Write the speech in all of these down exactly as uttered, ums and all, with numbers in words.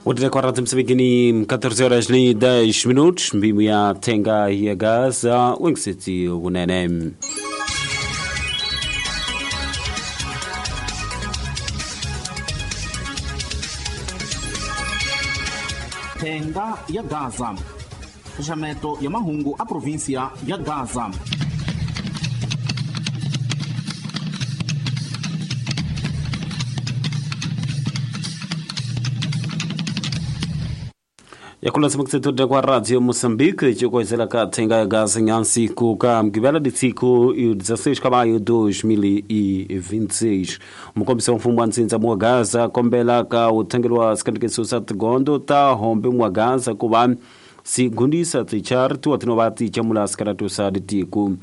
Outra quarta Moçambique, catorze horas e dez minutos, mbimbo ya Tenga ya Gaza, Wengcity Unene. Tenga ya Gaza. Xaxameto ya mahungu a província ya Gaza. Yakulasa mkuseto kwa Radio Moçambique chikoizela ka Tenga ya Gaza nyansi kuka mgibela disiku dezesseis de maio de dois mil e vinte e seis. Mukombisa mfumo wa ntsindza mwa Gaza kombela ka uthengelwa sikandikiso sa tigondo ta hombe mwa Gaza kuva sigundisa tichartu atinova tichamula sikaratu sa ditiku.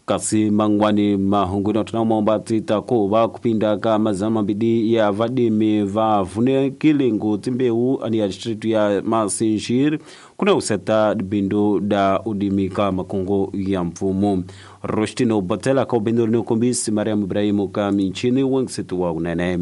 Kasi mangwani mahunguni atinamomba titakuva kupinda ka mazana mambidi ya vadimi va vunekile ngutimbeu ani ya distritu ya Masinjir kuna useta bindu da udimi ka makongo ya mfumo. Rostino Botela ka ubindu ni kumbisi Mariam Ibrahimu ka minchini wengsitu wa unene.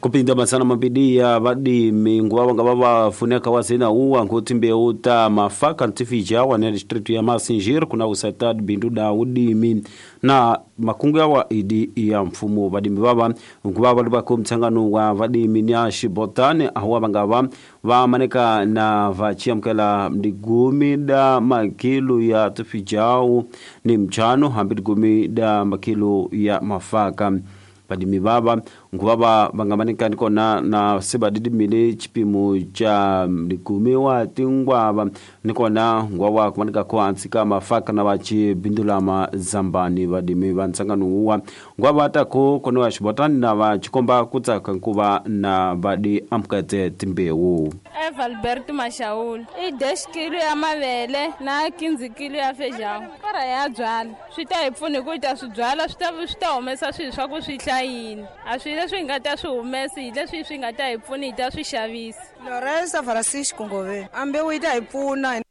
Kupinda masana mabidi ya vadimi nguwa nga baba funeka wasina uwa ngutimbe uta mafaka ntifija wa nene distritu ya Masinjir kuna usatad bindu da udimi na makungu ya wa idi ya mfumo vadimi baba nguwa walubako mtangano wa vadimi ni shibotane ahuwa bangaba wa maneka na vachia mkela mdigumi da makilu ya tifijau ni mchano hambidigumi da makilu ya mafaka. Vadimi baba ngubaba bangamanika niko na na seba didimile chipimo cha mdigumi wa tingwaba niko na ngwawa kumanika ko antsika mafaka na bachi bindula mazambani vadimi bantsangano uwa ngwaba atako kono ashibotani na bachikomba kutsaka nkuba na badi amkate timbewu. Eva Alberto Mashaul i dez kilo ya mavele na quinze kilo ya feijão para ya byala swi ta hi pfuna ku ta swi byala swi ta swi ta humesa swilo swa ku swi hlayini a swi leswi hi nga ta swi humesi hi leswi swi nga ta hi pfuna hi ta swi xavisa. Lorenzo Francisco Ngove ambewu yi ta hi pfuna.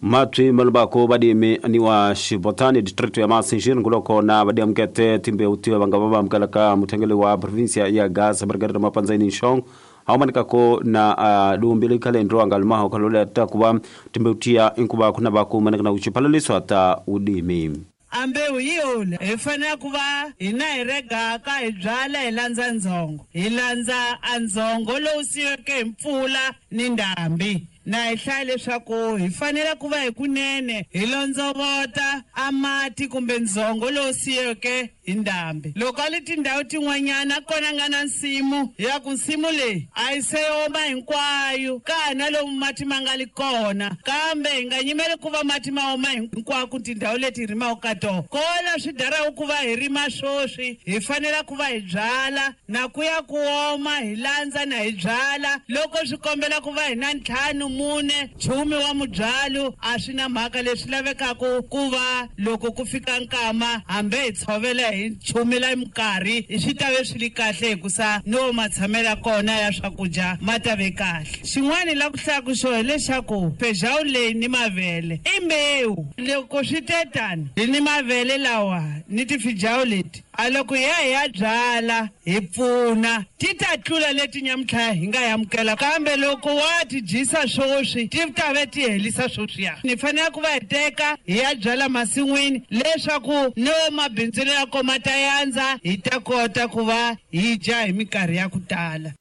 Matwi malubako badimi ni wa Shibotani district ya Masinjir nguloko na badi amkete timbewu tiwe bangaba mkalaka mutengele wa provincia ya Gaza Margarita Mapanzaini Shong haumanikako na uh, dumbili kalendro angalumaho kalole takuba timbeutia inkuba kuna baku maneka na uchipalaliswa ta udimi. Ambewu yiyona hi fanele ku va hina hi regaka hi byala hi landza ndzhongo hi landza a ndzhongo lowu siyiweke hi mpfula ni ndhambi na hi hlaya leswaku hi fanele ku va hi kunene hi londzovota a mati kumbe ndzhongo lowu siyiweke hi ndhambi. Loko a li tindhawu tin'wanyana kona nga na nsimu ya ku nsimu leyi a yi se oma hinkwayo ka ha na lomu mati ma nga li kona kambe hi nga nyimeli ku va mati ma oma hinkwako tindhawu leti hi rimaka ka tona kona swi daraku ku va hi rima swoswi hi fanele ku va hi byala na ku ya ku oma hi landza na hi byala loko swi kombela ku va hi na ntlhanu mune chumi wa mubyalo a swi na mhaka leswi lavekaka ku va loko ku fika nkama hambi hi tshovela hi chumela minkarhi swi ta ve swi li kahle hikusa no matshamela kona ya swakudya ma ta ve kahle. Xin'wana la ku hlaya ku xo hileswaku feijão leyi ni mavele i mbewu loko swi te tani hi ni mavele lawa ni tifijao leti a loko ya hi ya byala hi pfuna ti ta tlula leti nyamuntlha hi nga yamukela kambe loko wa ti dyisa swoswi ti ta ve ti helisa swoswiya ni fanele ku va hi teka hi ya byala masin'wini leswaku no mabindzu ya koma ta yandza hi ta kota ku va hi dya hi minkarhi ya ku tala.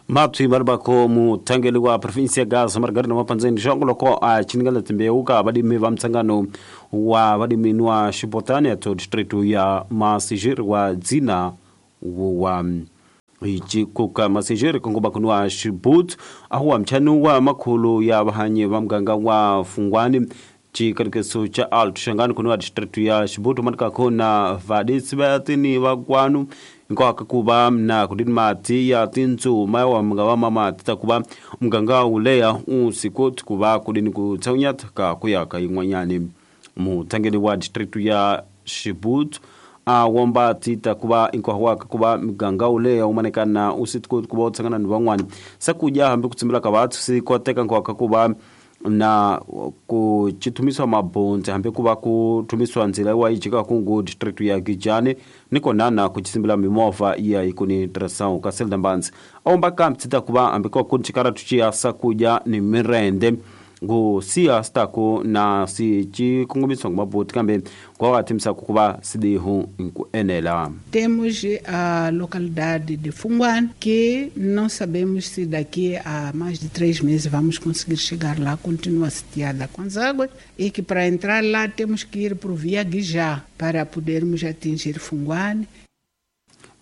Matwi malubako mutangeli wa provinsia ya Gaza Margarita Mapanzeni Shongo loko a chiningala timbewu ka badimi va mtsangano wa badimi wa Shibotani ya district ya Masijir wa dzina wa ichikuka Masijir kongoba kunwa Shibut ahuwa mchanu wa makhulu ya bahanyi va mganga wa Fungwani chikarekeso cha Alto Shangani kunwa district ya Shibutu manika kona vadisi batini wa kwanu nkwaka kuba na kudini mati ya tinzu mawa mga mama titakuba mganga ulea usiku tukuba kudini kutaunyata ka kuyaka ingwanyani mutangeli wa district ya Shibutu awomba titakuba inkwahwaka kuba mganga ulea umanekana usiku kuba utsangana ni wangwani sakuja hambi kutsimbila ka bathu sikoteka nkwaka kuba na ku chithumiswa mabonzi hambi ku va ku thumiswa ndzila wa yi jika kungu district ya Gijani ni kona na ku chisimbila mimovha ya ikuni tração ka Selda Mbanzi aomba kambi tsita ku va hambi ko ku chikara tuchiya sakudya ni mirende ngu siya sitaku na si chikongomiswa ngu maboti kambe kwa wathimisa ku va sidihu nku enela. Temos a localidade de Funguane, que não sabemos se daqui a mais de três meses vamos conseguir chegar lá, continua sitiada com as águas, e que para entrar lá temos que ir por via Guijá para podermos atingir Funguane.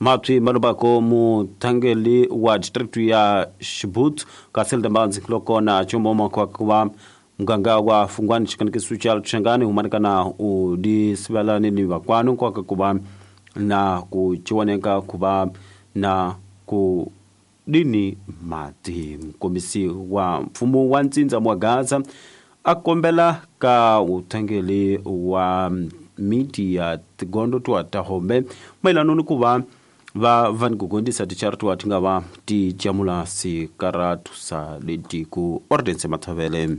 Matwi malubako mutangeli wa district ya Shibut Kaselda Mbanzi kulokona chomoma kwa kuwa mganga wa Fungwani chikanikisu cha Changani humanikana udi sibalani ni wakwanu kwa kuwa na kuchiwaneka kuba na ku dini mati mkomisi wa mfumo wa Nzinza mwa Gaza akombela ka utangeli wa miti ya tigondo twa tahombe mailano ni kuva va van kugondisa tichartu atinga va ti jamula sikaratu sa letiku ordense mathavele.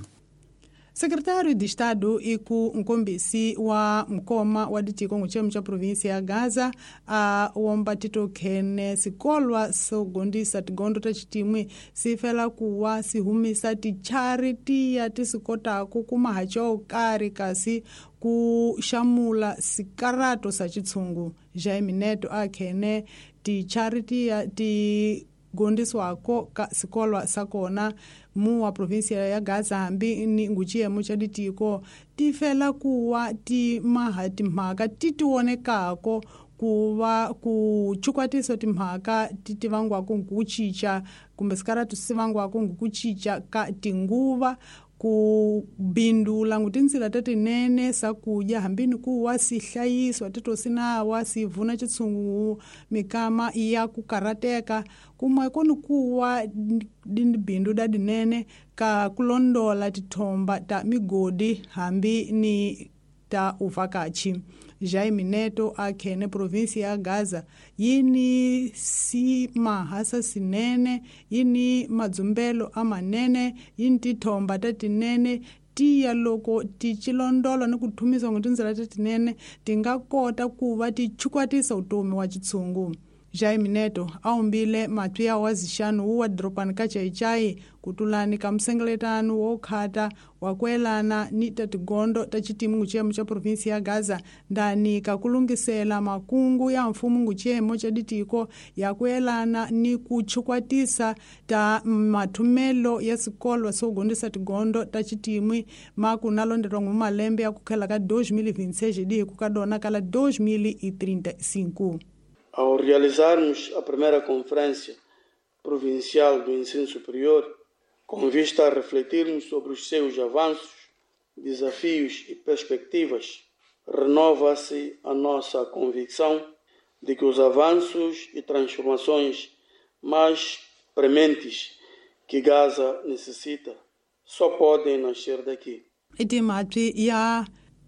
Secretário de Estado e ku nkombisi wa mkoma wa ditiko nguchemu cha província ya Gaza a womba tito khene sikolwa sogondisa tigondo ta chitimwe sifela kuwa sihumisa ticharity ya tisikotako kuma hacho kari kasi ku shamula sikarato sa chitsungu. Jaime Neto akhene ticharity ya ti gondiswako ka sikolwa sakona mu wa província ya Gaza hambi ni nguchiyemo cha ditiko tifela kuwa ti maha timhaka ti tionekako kuva ku chukwatiso timhaka ti tivangwako nkuchicha kumbe sikaratu sivangwako nkuchicha ka tinguva ku bindula ngutinzila tatinene sakudya hambini kuwa sihlayiswa titosinawa sivuna chitsungu mikama ya kukarateka kumwe koni kuwa bindu dadinene ka kulondola tithomba ta migodi hambi ni ta uvakachi. Jaime Neto akhene província ya Gaza yini si mahasa sinene yini madzumbelo amanene yini tithomba tatinene tiya loko ti chilondolo ni kuthumisa ngutinzila tatinene tingakota kuva ti chukwatisa utomi wa chitsungu. Jaime Neto aumbile matwi ya wazixanu wu wa doropani ka Chaichai kutulani ka msengeletano wo khata wa kuelana ni tatigondo ta chitimu nguchiyemo cha província ya Gaza ndani ka kulungisela makungu ya mfumo nguchiyemo cha ditiko ya kuelana ni kuchukwatisa ta mathumelo ya sikolwa sogondisa tigondo ta chitimwi makunalondelwa ngu malembe ya kukhela ka dois mil e vinte e seis di kukadona kala dois mil e trinta e cinco. Ao realizarmos a primeira Conferência Provincial do Ensino Superior, com vista a refletirmos sobre os seus avanços, desafios e perspectivas, renova-se a nossa convicção de que os avanços e transformações mais prementes que Gaza necessita só podem nascer daqui. Itimatwi ya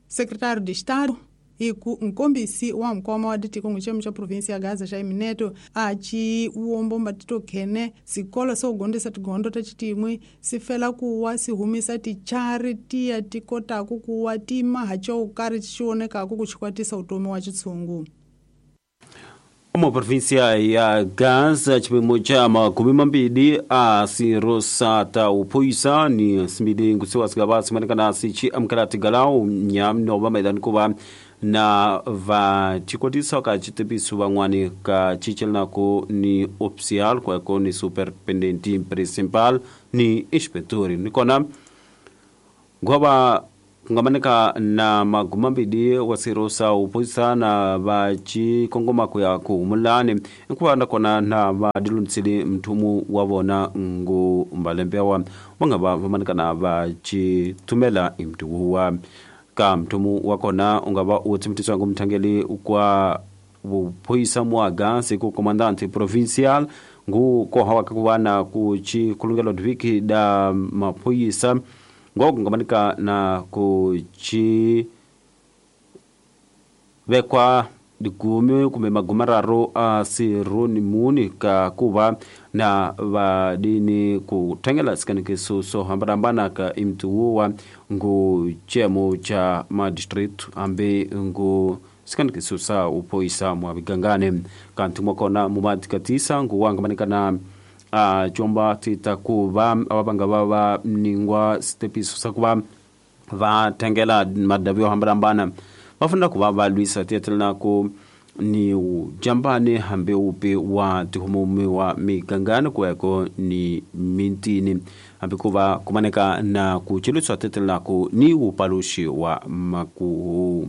secretário de Estado e ku nkombisi wa mkoma wa ditiko nguchemu cha província ya Gaza Jaime Neto achi uombo tito khene sikolo sogondisa tigondo ta chitimwi sifela kuwa sihumisa ticharity ya tikotako kuwa tima hacho kari chionekako kuchikwatisa utomi wa chitsungu. Uma província ya Gaza chipimo cha makumi mambili a sirosata uphoyisa ni simbili ngusiwa sigaba simanikana sichi amkalati galau nyamno maidani kuva na va chikwatisa ka chitepiso van'wani ka chichelinako ni oficial kwako ni superintendente principal ni inspector ni kona ngoba kungamanika na magumambili wa sirosa uphoyisa na va chikongoma kuya kuhumulani nkuva nakona na va diluntsili mthumu wa vona ngu mbalembewa va nga va vamanikana va chithumela imtuwa ka mthumu wa kona u nga va u tsimitisiwa ngu mthangeli kwa vuphoyisa mwaga siku comandante provincial ngu koha ka ku va na ku chikulungelo dviki da maphoyisa ngo kungamanika na ku chi vekwa digume kumbe magumararo a sironi muni ka kuva na vadini kuthengela sikanekiso so hambanahambana ka imtuwa ngu chemo cha madistrict ambe ngu sikanekiso sa upoisa mwa vigangane kanti mwakona mumatikatisa ngu wangamanikana a chomba tita kuva ababanga baba ningwa stepiso sakuva va thengela madavi yo hambanahambana vafuna kuva va lwisa tietelana ku ni ujambane hambe upi wa tihumumi wa migangano kuweko ni mintini hambe kuva kumaneka na kuchiluswa tietelana ku ni upalushi wa makuhu.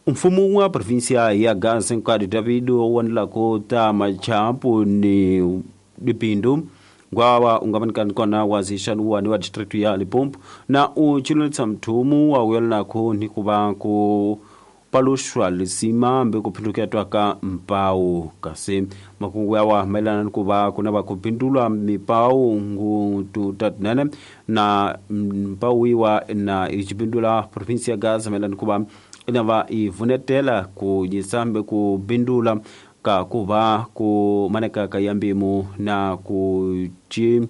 Mfumo wa provinsia ya Gaza nkadi David wanilako ta machapu ni dipindu ngwawa ungamanikani kona wazishanu wani wa district ya Limpopo na uchilonetsa mthumu wa uyelnako ni kuva ku palushwa lisima mbe kuphindukia twaka mpau kasi makungu yawa maelana ni kuva kuna va kupindulwa mipau ngu tutatinene na mpau iwa na ichipindula provinsia ya Gaza maelana ni kuva inava ivunetela ku jisambe kupindula ka kuva ku maneka kayambimu na ku chi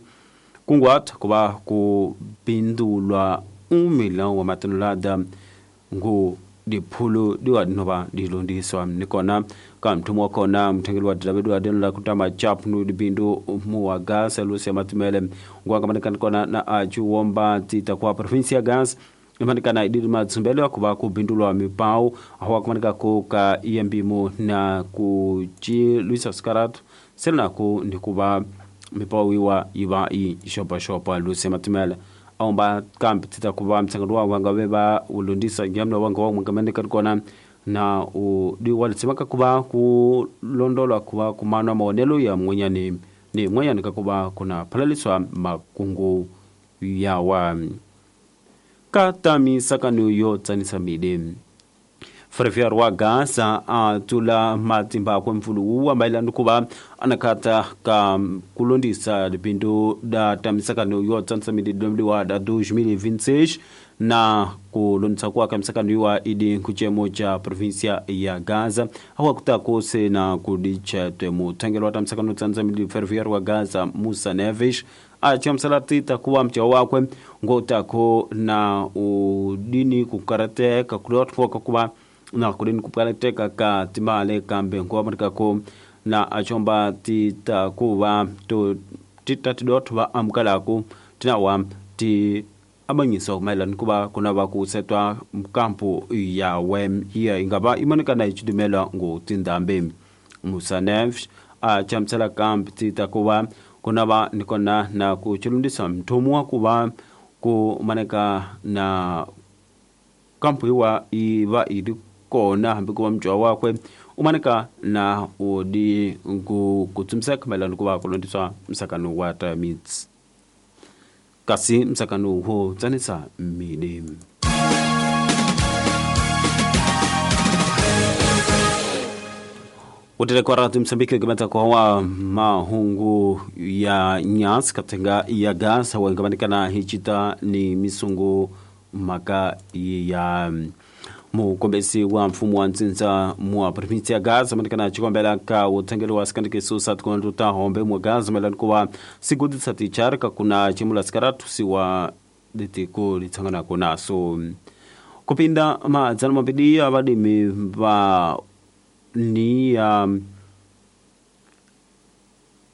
kungwata kuva kupindulwa umilão wa matonelada ngu diphulu diwa dinova dilondiswa nikona ka mthumu wa kona mthengeli wa David wa denla kutama chapnu dibindu mu wa Gaza Lucia Matimele ngwanga kona na achu womba tita kwa provinsia ya Gaza imanikana idiri matsumbelo akuva kupindulwa mipau awa kumanika ku ka iyambimu na ku chi Luisa Scaratu selnaku nikuva mipau iwa iva i xopaxopa Lucia Matimele aomba kambi tita kuva mtsangano wa wanga veva ulondisa yamna wanga wa mwangamanika kona na u di walitsimaka kuva ku londolwa kuva kumanwa maonelo ya mwenyani ni mwenyani kakuva kuna phalaliswa makungu yawa katami sakanu yo tsanisa mide Frefiar wa Gaza atula matimba kwa mfulu wa mailani kuva anakata ka kulondisa lipindu da tamisakano yo tsanisa mide wa da dois mil e vinte e seis na kulondisa kwa kamisakano yuwa idi kuchemo cha provinsia ya Gaza hawa kutakose na kudicha temo tangelo wa tamisakano tsanisa mide Frefiar wa Gaza Musa Neves achamsala tita kuwa mcha wakwe ngotako na udini kukarateka kulotwa kuba na kudini kukarateka ka timale kambe ngwa ko na achomba tita kuwa to tita tidot wa amkalako tinawa ti abanyiso mailani kuba kuna bakusetwa mkampu ya wem iya ingaba imanika na ichidumela ngo tindambe Musa Neves achamsala kambe tita kuwa kuna ba nikona na kuchulundisa mtumu wa kuba kumaneka na kampu iwa iva ili kona hambi kuba mjwa wakwe umaneka na udi ngu kutumseka mailani kuba kulundiswa msakano wa tamits kasi msakano huo tsanisa mide. Utele kwa ratu Msambiki gamata kwa wa mahungu ya nyasi katenga ya Gaza wangamanikana hichita ni misungu maka ya mukombesi wa mfumo wa nzinza mwa provinsi ya Gaza manikana chikombela ka utengelo wa sikandike susa tukonduta hombe mwa Gaza melani kuwa sigudisa ticharka kuna chimula sikaratu siwa ditiko litsangana kuna so kupinda madzana mabidi abadimi ba ni um,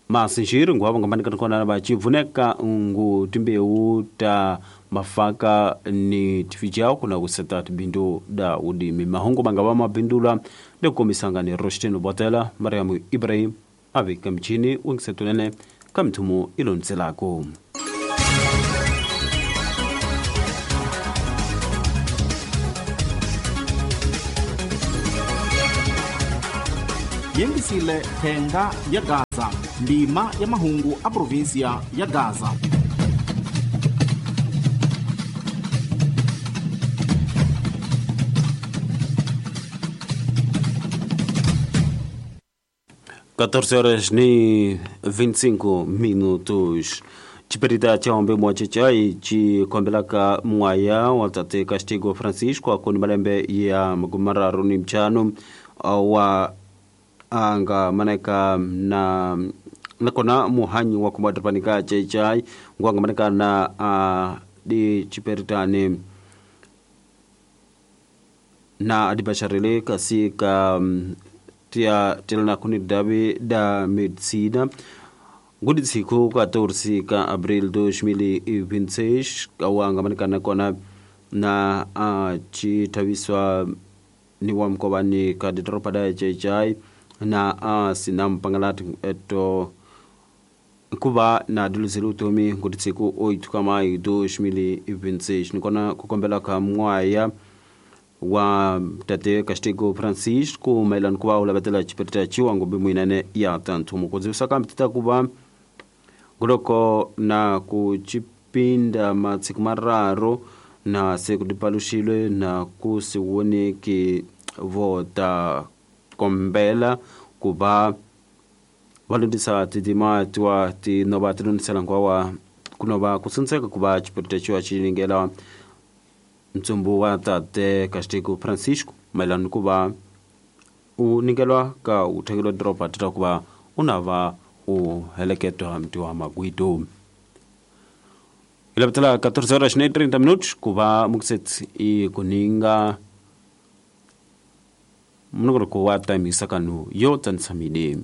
masinjiri nguva ngamanikana kona vachivuneka ngu timbeu ta mafaka ni tifijao kuna kuseta tibindu da udimi mahungu mangava mabindula ndikukomisanga ni Roshtino Botela Mariamu Ibrahim avika mchini wengisetunene kamthumu ilonselako. Yengisile thenga ya Gaza ndima ya mahungu a provinsia ya Gaza. quatorze horas e vinte e cinco minutos. Chiperita cha ombe mwache chi kombelaka mwaya wa tate Castigo Francisco akoni malembe ya magumararu ni mchano wa anga maneka na nakona muhanyi wa kumadrapanika chechai ngwanga maneka na uh, di chiperitani na adibasharile kasi ka um, tia tilna kuni dabi da medicina nguditsiko quatorze ka abril dois mil e vinte e seis awanga manikana kona na a chithaviswa ni wa mkovani ka didoropa da chechai na a sina mpangalati eto kuva na diluzile utomi nguditsiko oito ka maio dois mil e vinte e seis nikona kukombela ka mwaya wa tate Castigo Francisco maelana kuva u lavetela chiperita chiwango bimwinene ya tanthumo kudzivisa kambe tita kuva nguloko na ku chipinda matsiku mararu na se ku dipaluxilwe na ku si voneki vo ta kombela ku va va lundzisa tidima tiwa ti no va ti lundzisela nkwawa ku no va ku tshuntseka ku va chiperita chiwa xi ningela ntsumbu wa tate Castigo Francisco mayelana ku va u nikelwa ka u thengelwa doroba tita ku va u na va u heleketwa mti wa magwido ilapetela quatorze horas e trinta minutos ku va mukusetsi i kuninga munongoloko wa tamisa kanu yo tsantshamile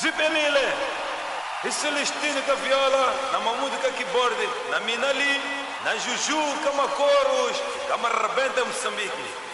Dripelile e Celestino com a viola, na Mamudo com a keyboard, na Minali, na Juju com a Coros, com a Rebenta Moçambique.